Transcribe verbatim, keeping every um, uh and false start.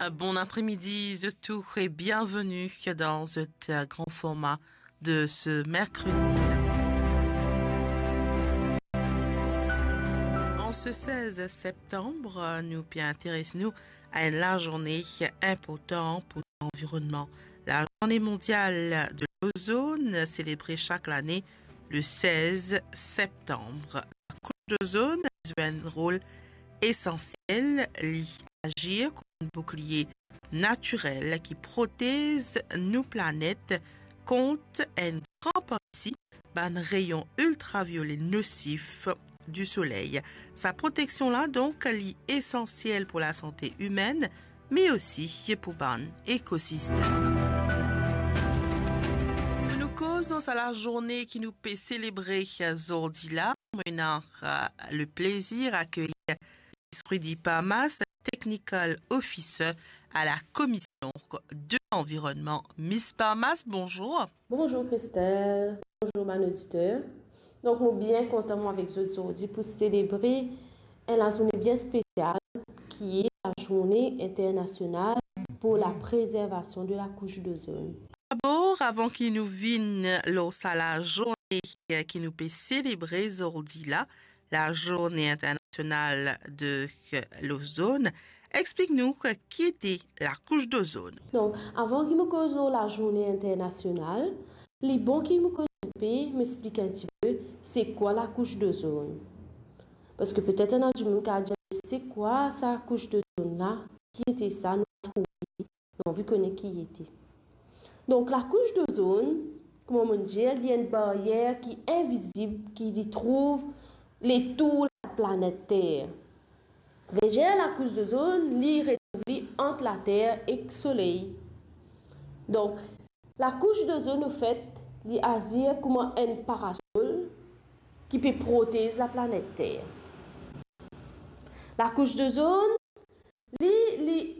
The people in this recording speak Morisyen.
Bon apremidi zot tou e bienveni dan zot gran forma de se merkredi. An se sez septanm, nou pe interes nou a enn lazourne inportan pou lanvironnman. Lazourne mondial de lozonn, selebre sak lane le sez septanm. Lakous dozonn zwe enn rol esansiel, li azir kouma enn bouklie natirel ki protez nou planet kont enn gran parti bann reyon iltraviole nosif di soley. Sa proteksion la, donk, li esansiel pou lasante imenn, me osi pou bann ekosistem. Pou nou koz dan sa lazourne ki nou pe selebre zordi la, mo ena, euh, le plezir akeyir Miss Rudy Parmas, Technical Officer à la Commission de l'Environnement. Miss Parmas, bonzour. Bonzour Christelle, bonzour bann oditer. Donk, mo bien kontan, mo avek zot zordi pou selebre enn lazourne bien spesial, ki e Lazourne Internasional pour la Préservation de la Couche d'Ozone. Dabor, avan ki nou vinn lor sa lazourne ki nou pe selebre zordi la, Lazourne Internasional de Lozonn, explik nou ki ete lakous dozonn. Donk, avan ki mo koz lor Lazourne Internasional, li bon ki mo koz enpe, mo explik enn tipe, se kwa lakous dozonn. Parski petet ena dimoun ki a dir, "Se kwa sa kous dozonn la? Ki ete sa? Nou pa trouve." Nou anvi kone ki ete. Donk, lakous dozonn, kouma mo dir, li enn baryer ki invizib, ki li trouv letour laplanet Ter. Leger lakous dozonn, li retrouv li ant Later ek Soley. Donk, lakous dozonn, anfet, li azir kouma enn parasol ki pe protez laplanet Ter. Lakous dozonn, li, li